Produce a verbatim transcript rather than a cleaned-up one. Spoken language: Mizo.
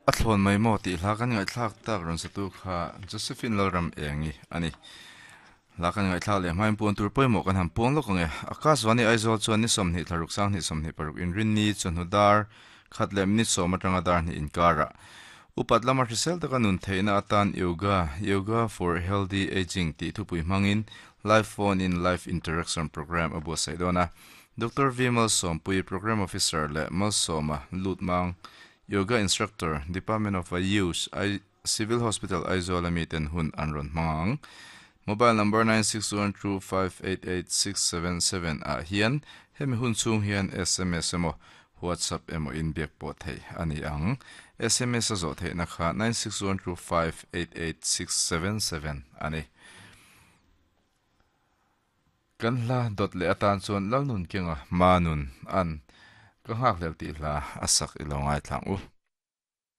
A thlawn mai maw tih hla kan ngaihthlak tak rawn satu kha Josephine Lalram Engi a ni. Hla kan ngaihthlak leh hmain puan tur pawimawh kan han puang lawk ang e. Akashvani Aizawl chuan ni sawmhnih thlaruk sanghnih sawmhnih paruk inrinni chawhnu dar khat leh minute sawm atanga dar hnih inkarah upat lama hrisel taka nun theihna atan yoga yoga for healthy aging tih thupui hmangin live phone in live interaction program a buatsaih dawn a. Doctor V Malsawmpui Program Officer leh Malsawma Lutmang Yoga Instructor, Department of Ayush, I Civil Hospital Aizawl ami ten hun an rawn hmang ang. Mobile number nine six one two five eight eight six seven seven ah hian hemi hun chhung hian sms emaw WhatsApp emaw inbiak pawh theih a ni ang. Sms a zawh theihna kha nine six one two five eight eight six seven seven a ni. Kan hla dawt leh atan chuan Lalnun Kenga Manun an ka nghak hlel tih hla a sak i lo ngaithlang u.